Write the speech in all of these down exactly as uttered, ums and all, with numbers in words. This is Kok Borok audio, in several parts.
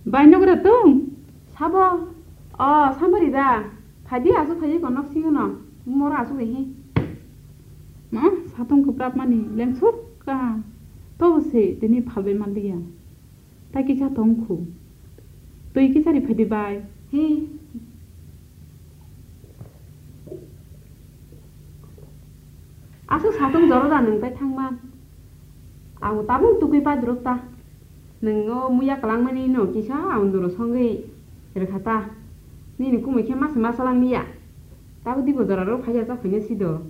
Bai nogra tong? Sabo? O, Sampari da. Phaidi aswk phaidi kon nok singo no. Moro aswk hi. Ma, satong kwprap mani lengsuk ka. Tobo se tini phalbai manliya. Tai kisa tong khu. Twi kisa ri phaidi bai. Hi. Aswk satung jora da nwng tai thangma. Ang tabuk tukui padruk ta. Nwng o muya kwlangmani no kisa ang duro songwi rwkha ta. Nini kumui khe masa masa lang liya. Tabuk dibo jora rok phaiya ta phaina sido.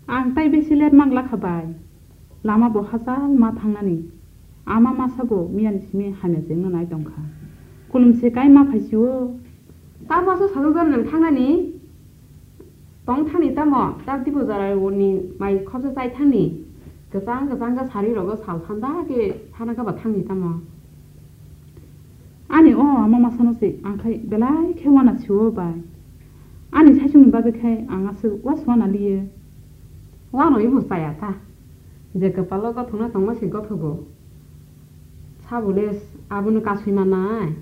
Ang tai besi let mang lakha bai. Lama bo hachal ma thangnani. Ama masa bo miyani simi hamya jengno nai tongkha. Kulumse kai ma phaisio. Tamo aswk sajwk jani nang thangnani? Tong thani tamo, ta tipo jora ni mai khorsa chai thani. Kwchang kwchang khe sari rogo sal thanda khe thana khe ba thangni tamo. Ani o ama masano se ang khai belai khe wana siwo bai. Ani saichung ni bagwi khai ang aswk was wana liye. Wano ibo chaya ta. Je kwpalo gothokna tongma se gothogo. Sabole abono kasui manai.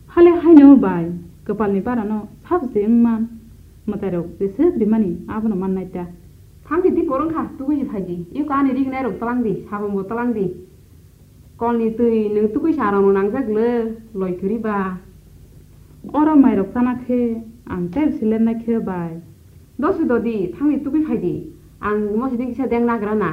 Hale haino bai, kwpalni barano sab je wngman. Mwtairok jeswk rimani abono mannai ta. Thamdi di porong kha, tugui phaidi. Iko ani rignai rok twlang di, sabonbo twlang di. Kolni twi nwng tugui sa rokno nangjak le, loi kwrwi ba. Oro mairok chana khe ang tei se lernai khe bai. Dosi dodi, thangni tugui phaidi. Ang mosiding kisa deng nagra na.